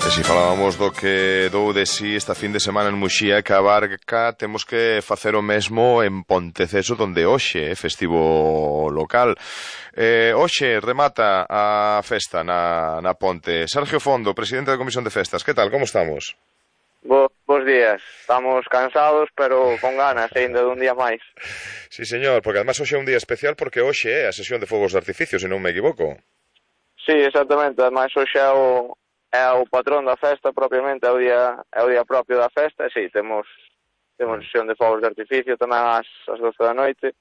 E si falábamos do que dou de si esta fin de semana en Muxía, que a Barca temos que facer o mesmo en Ponteceso, donde hoxe é festivo local. Hoxe remata a festa na Ponte. Sergio Fondo, presidente da Comisión de Festas, que tal, como estamos? Bos días, estamos cansados pero con ganas ainda dun día máis. Sí, señor, porque además hoxe é un día especial porque hoxe é a sesión de fogos de artificio, se non me equivoco. Sí, exactamente, ademais hoxe é o patrón da festa propiamente, é o día propio da festa, e sí, temos sesión de fogos de artificio tamén ás 12 da noite.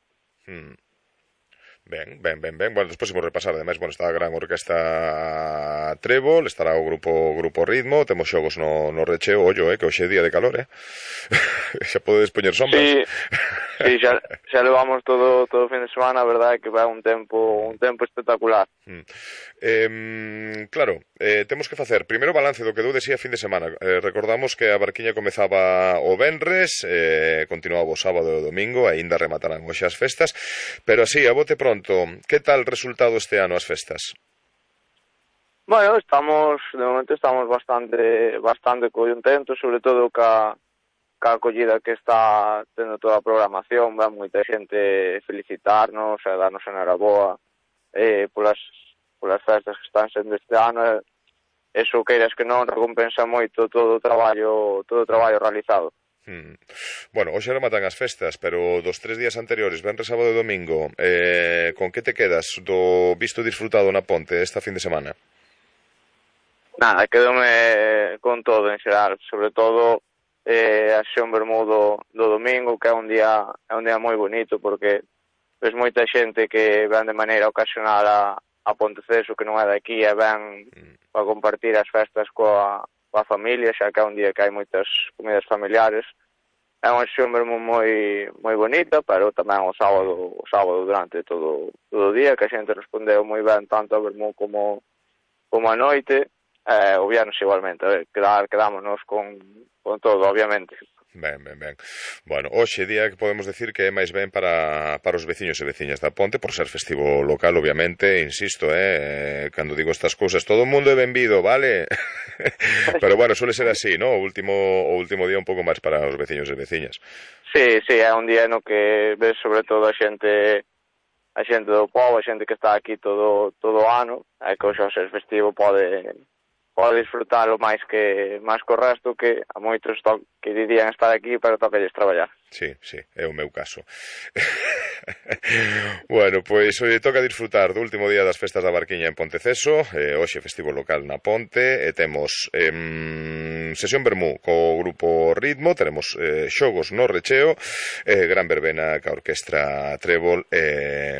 Ben. Bueno, despois imos repasar, ademais, bueno, está a gran orquesta Trébol, estará o grupo Ritmo, temos xogos no recheo, ollo, que hoxe é día de calor, xa podedes poñer sombras. Sí, xa levamos todo o fin de semana, a verdade que vai un tempo espectacular. Claro, temos que facer primeiro balance do que deu de si a fin de semana. Recordamos que a barquiña comezaba o venres, continuaba o sábado e o domingo, aínda rematarán hoxe as festas, pero así, a bote pronto, que tal resultado este ano as festas? Bueno, de momento estamos bastante contentos, sobre todo ca acollida que está tendo toda a programación, va moita xente felicitarnos, a darnos enhoraboa polas festas que están sendo este ano, eso queiras que non recompensa moito todo o traballo realizado. Bueno, hoxe rematan as festas, pero dos 3 días anteriores, venres, sábado e domingo, con que te quedas do visto disfrutado na Ponte esta fin de semana? Nada, quedome con todo en xeral, sobre todo a sesión vermú do domingo, que é un día moi bonito, porque ves moita xente que ven de maneira ocasional a Ponteceso, que non é daqui, e ven para compartir as festas coa familia, xa que é un día que hai moitas comidas familiares. É unha sesión vermú moi bonita, pero tamén o sábado durante todo o día, que a xente respondeu moi ben tanto a vermú como a noite. O viernes igualmente, quedámonos con todo, obviamente. Ben. Bueno, hoxe día que podemos decir que é máis ben para os veciños e veciñas da Ponte, por ser festivo local, obviamente, insisto, cando digo estas cousas, todo o mundo é benvido, vale? Pero bueno, suele ser así, ¿no? O último día un pouco máis para os veciños e veciñas. Sí, é un día no que ves sobre todo a xente do pobo, a xente que está aquí todo o ano, e que hoxe ao ser festivo pode disfrutalo máis que o resto, que a moitos que dirían estar aquí, pero toquelles traballar. Sí, é o meu caso. Bueno, pois hoxe toca disfrutar do último día das festas da Barquiña en Ponteceso, hoxe festivo local na Ponte, e temos sesión vermú co grupo Ritmo, teremos xogos no recheo, gran verbena ca orquestra Trébol,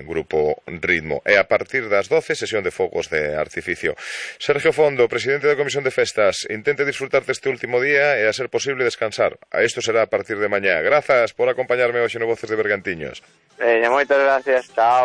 grupo Ritmo, e a partir das 12, sesión de fogos de artificio. Sergio Fondo, presidente da Comisión de Festas, intente disfrutar deste último día e, a ser posible, descansar. Isto será a partir de mañá. Grazas por acompañarme hoxe no Voces de Bergantiños. Moitas gracias, chao.